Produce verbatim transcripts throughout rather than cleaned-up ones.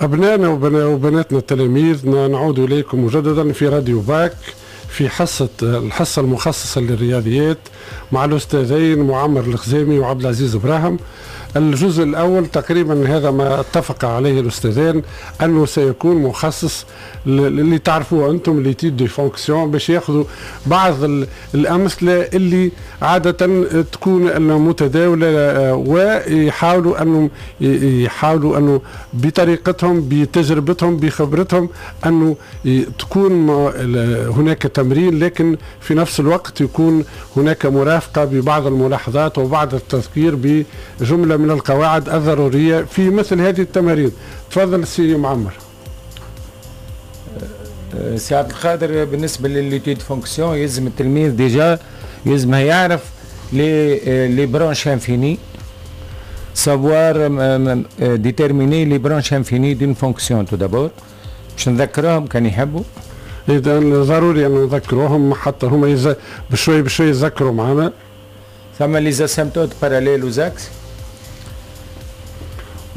أبنائنا وبناتنا التلاميذ، نعود إليكم مجددا في راديو باك في حصة الحصة المخصصة للرياضيات مع الأستاذين معمر الخزامي وعبد العزيز إبراهيم. الجزء الأول تقريبا هذا ما اتفق عليه الأستاذان أنه سيكون مخصص اللي تعرفوه أنتم l'étude des fonctions، باش ياخذوا بعض الأمثلة اللي عادة تكون متداولة، ويحاولوا أنه يحاولوا أنه بطريقتهم بتجربتهم بخبرتهم أنه تكون هناك تمرين، لكن في نفس الوقت يكون هناك مرافقة ببعض الملاحظات وبعض التذكير بجملة من القواعد الضرورية في مثل هذه التمارين. تفضل سي معمر. سي عبد القادر، بالنسبة ل l'étude fonctions يلزم التلميذ déjà يلزم يعرف les les branches infinies، savoir déterminer les branches infinies d'une fonction tout d'abord، باش نذكرهم كان يحبوا. اذا ضروري ان نذكروهم حتى هما يز... بشوي بشوي يذكروا معنا. ثم les asymptotes parallèles aux axes،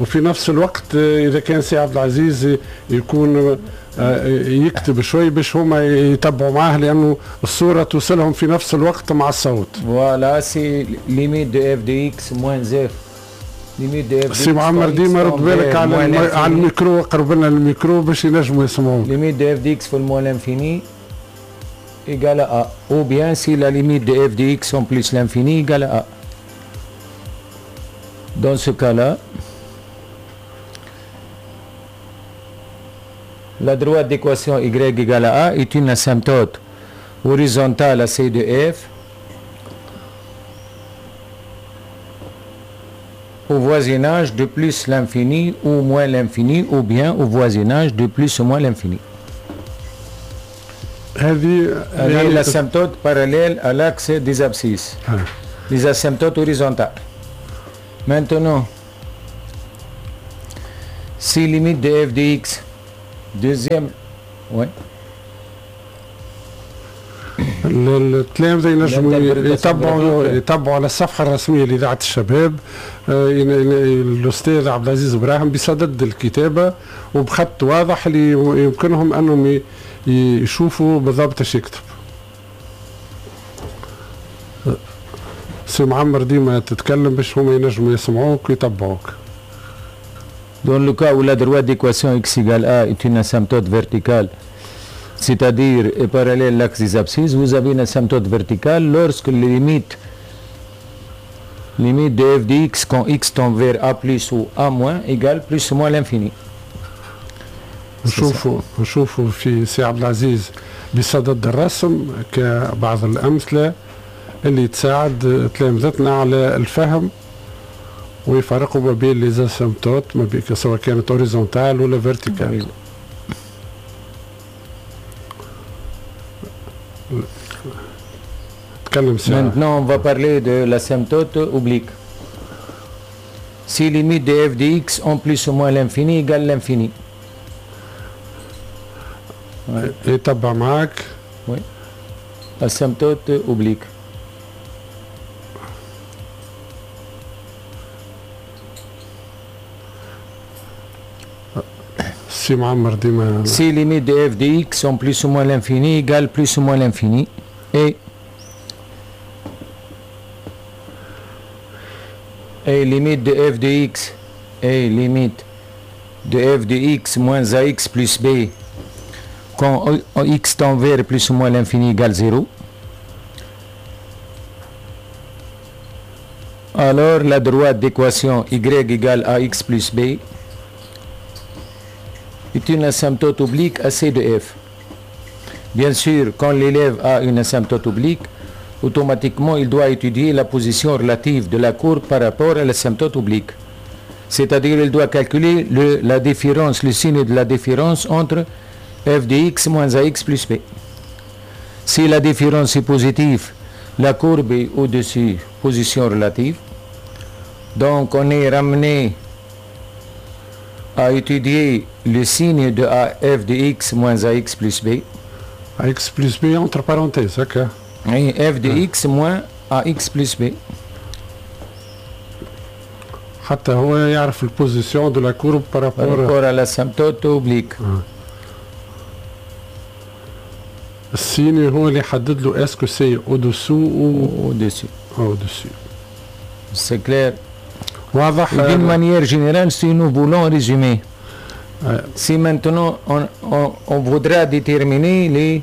وفي نفس الوقت اذا كان سي عبد العزيز يكون يكتب شوي باش هما يتبعوا معاه، لانه الصورة توصلهم في نفس الوقت مع الصوت. voilà c'est limite de f de x moins f limite de f. سي معمر ديما رد بالك على الم... على الميكرو، قرب لنا الميكرو باش ينجموا يسمعوك. limite de f de x في ال moins l'infini égale à, ou bien si la limite de f de x en plus l'infini égale à. Dans ce cas-là, la droite d'équation y égale à a est une asymptote horizontale à C de f au voisinage de plus l'infini ou moins l'infini, ou bien au voisinage de plus ou moins l'infini. هذه l'asymptote parallèle à l'axe des abscisses, les asymptotes horizontales. Maintenant, si limite de f de x, deuxième, oui. التلامذة ينجموا يتبعوا يتبعوا على الصفحة الرسمية لإذاعة الشباب الأستاذ عبد العزيز إبراهيم بصدد الكتابة وبخط واضح اللي يمكنهم أنهم يشوفوا بالضبط ايش يكتب. سي معمر ديما تتكلم باش هما ينجموا يسمعوك ويتبعوك. Dans le cas où la droite d'équation x égale a est une asymptote verticale, c'est-à-dire est parallèle à l'axe des abscisses, vous avez une asymptote verticale lorsque les limites, limite de f de x quand x tend vers a plus ou a moins égale plus ou moins l'infini. نشوفوا نشوفوا في سي عبد العزيز بصدد الرسم كبعض الأمثلة اللي تساعد تلامذتنا على الفهم ويفرقوا ما بين les asymptotes، ما بين سواء كانت horizontales ولا verticales. تكلم سي. Maintenant on va parler de l'asymptote oblique. Si limite de f de x en plus ou moins l'infini égale l'infini. يتبع معاك. Oui. Asymptote oblique. سي معمر ديما. Si limite de f de x en plus ou moins l'infini égale plus ou moins l'infini et et limite de f de x et limite de f de x moins ax plus b quand x tend vers plus ou moins l'infini égale zéro, alors la droite d'équation y égale ax plus b est une asymptote oblique à C de f. Bien sûr, quand l'élève a une asymptote oblique, automatiquement il doit étudier la position relative de la courbe par rapport à l'asymptote oblique. C'est-à-dire il doit calculer le, la différence, le signe de la différence entre f de x moins ax plus b. Si la différence est positive, la courbe est au-dessus, position relative. Donc on est ramené à étudier le signe de A, f de x moins ax plus b. Ax plus b entre parenthèses, ok. Oui, f de x moins ax plus b. حتى هو يعرف ال position de la courbe par rapport à l'asymptote oblique. ال signe هو اللي يحدد له est-ce que c'est au-dessous ou au-dessus. Au-dessus. C'est clair. واضح. D'une manière générale, si nous voulons résumer, ouais. Si maintenant on, on, on voudra déterminer les,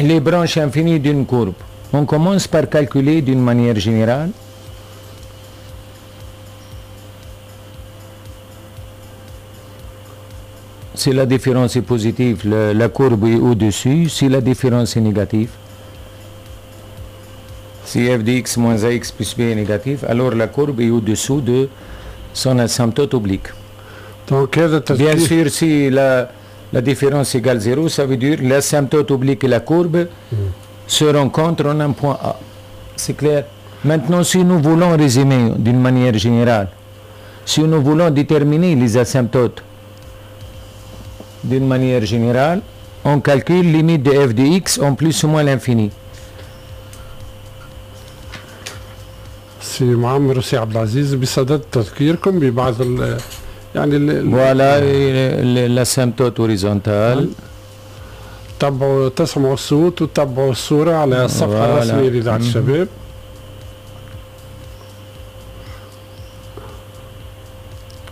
les branches infinies d'une courbe, on commence par calculer d'une manière générale si la différence est positive, le, la courbe est au-dessus. Si la différence est négative, si f de x moins ax plus b est négatif, alors la courbe est au-dessous de son asymptote oblique. Donc, bien sûr, si la, la différence égale zéro, ça veut dire l'asymptote oblique et la courbe mm. se rencontrent en un point A. C'est clair. Maintenant, si nous voulons résumer d'une manière générale, si nous voulons déterminer les asymptotes d'une manière générale, on calcule limite de f de x en plus ou moins l'infini. سي معمر وسي عبد العزيز بصدد تذكيركم ببعض ال يعني voilà l'asymptote horizontale. تبعوا تسمعوا الصوت وتبعوا الصورة على الصفحة الرسمية لإذاعة الشباب.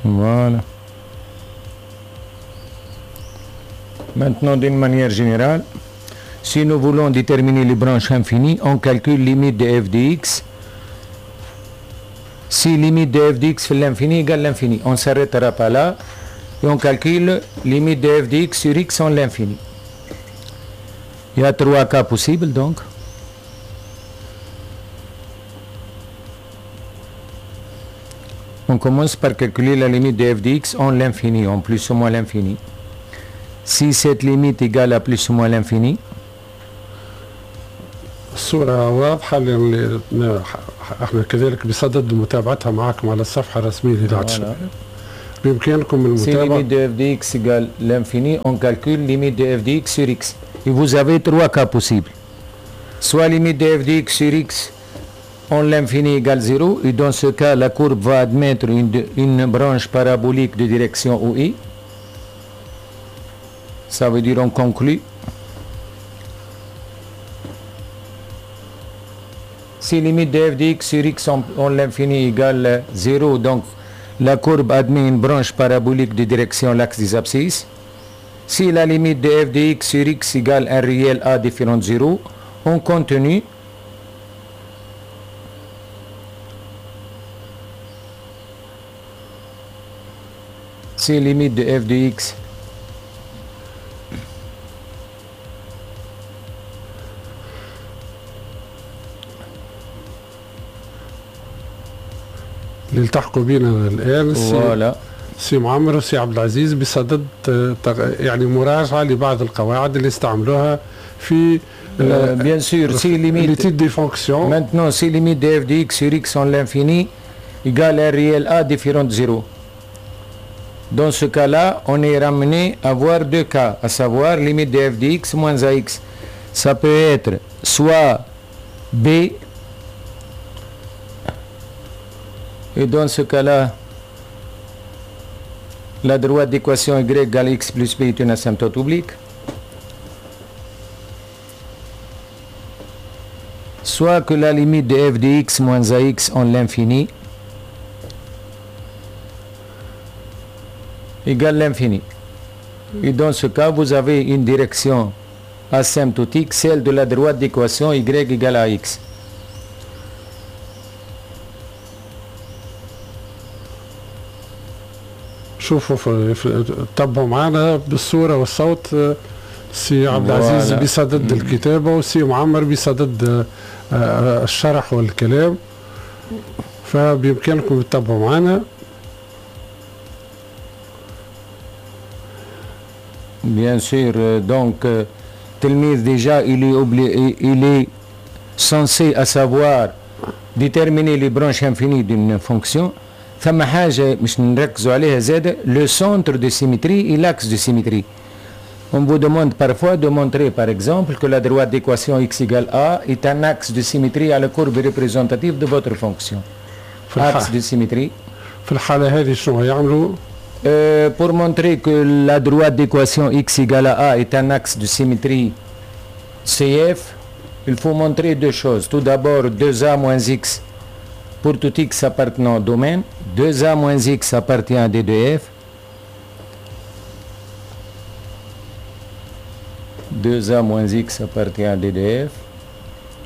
Voilà. Maintenant, d'une manière générale, si nous voulons déterminer les branches infinies, on calcule limite de f de x. Si limite de f de x fait l'infini égale l'infini, on ne s'arrêtera pas là et on calcule limite de f de x sur x en l'infini. Il y a trois cas possibles donc. On commence par calculer la limite de f de x en l'infini, en plus ou moins l'infini. Si cette limite égale à plus ou moins l'infini, الصورة واضحة اللي احنا كذلك بصدد متابعتها معكم على الصفحة الرسمية لإذاعة الشباب. بإمكانكم المتابعة. Si limite de f de x égale l'infini, on calcule limite de f de x sur x. Et vous avez trois cas possibles. Soit limite de f de x sur x en l'infini égale zéro, et dans ce cas, la courbe va admettre une, une branche parabolique de direction O I. Ça veut dire on conclut. Si limite de f de x sur x en, en l'infini égale zéro, donc la courbe admet une branche parabolique de direction l'axe des abscisses. Si la limite de f de x sur x égale un réel a différent de zéro, on continue. Si limite de f de x اللي التحقوا بنا الان سي, سي معمر وسي عبد العزيز بصدد يعني مراجعه لبعض القواعد اللي استعملوها في bien sûr si limite l'étude des fonctions. Maintenant si limite de f de x sur x en l'infini égale un réel a différent de zéro. Dans ce cas-là, on est ramené à voir deux cas, à savoir limite de f de x moins ax. Ça peut être soit b, et dans ce cas-là, la droite d'équation y égale x plus b est une asymptote oblique. Soit que la limite de f de x moins ax en l'infini égale l'infini. Et dans ce cas, vous avez une direction asymptotique, celle de la droite d'équation y égale à x. شوفوا تبعوا معنا بالصورة والصوت. سي عبد العزيز بصدد الكتابة وسي معمر بصدد الشرح والكلام، فبإمكانكم تتبعوا معنا. Bien sûr, donc تلميذ déjà il est obligé, il est censé à savoir déterminer les branches infinies d'une fonction. ثم حاجة مش نركزوا عليها زادة, le centre de symétrie et l'axe de symétrie. On vous demande parfois de montrer par exemple que la droite d'équation x égale a est un axe de symétrie à la courbe représentative de votre fonction. Axe de symétrie. في الحالة هذه شنو يعملوا؟ Euh, pour montrer que la droite d'équation x égale à a est un axe de symétrie C F, il faut montrer deux choses. Tout d'abord, deux a moins x pour tout x appartenant au domaine, deux a moins x appartient à D de f. deux a moins x appartient à D de f.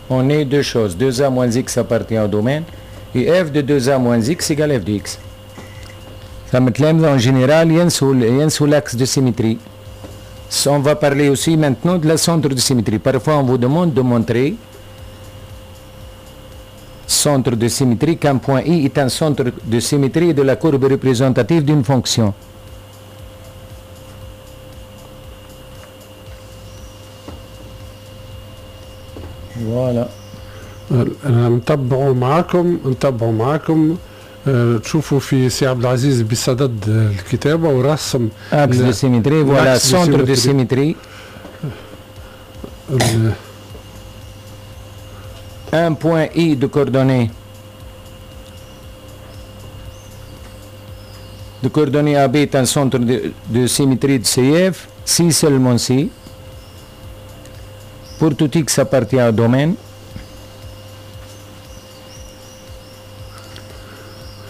On est deux choses. deux a moins x appartient au domaine et f de deux a moins x égale f de x. فما تلامذة en général ينسوا ينسوا l'axe de symétrie. On va parler aussi maintenant de la centre de symétrie. Parfois, on vous demande de montrer centre de symétrie, qu'un point I est un centre de symétrie de la courbe représentative d'une fonction. Voilà. نتبعوا معاكم نتبعوا معاكم تشوفوا في سي عبد العزيز بصدد الكتابه ورسم axe de symétrie, voilà, centre de symétrie, un point I de coordonnées de coordonnées A B est un centre de, de symétrie de C F si seulement si pour tout x appartient au domaine,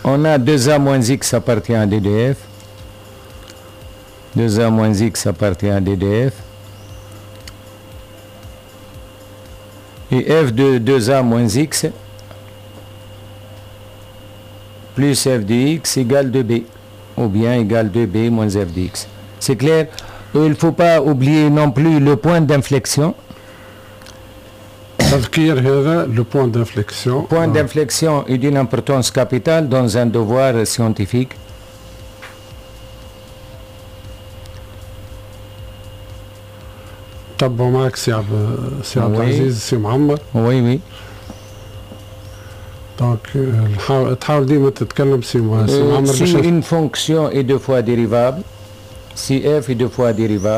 on a deux a moins x appartient à D de f. deux a moins x appartient à D de f. Et f de deux a moins x plus f de x égale deux b, ou bien égale deux b moins f de x. C'est clair? Il ne faut pas oublier non plus le point d'inflexion. تذكير هذا le point d'inflexion. Point d'inflexion est d'une importance capitale dans un devoir scientifique. تبعوا معك سي عبد سي عبد العزيز سي معمر. Oui, oui. Donc تحاول ديما تتكلم سي سي معمر. Si une fonction est deux fois dérivable, si f est deux fois dérivable,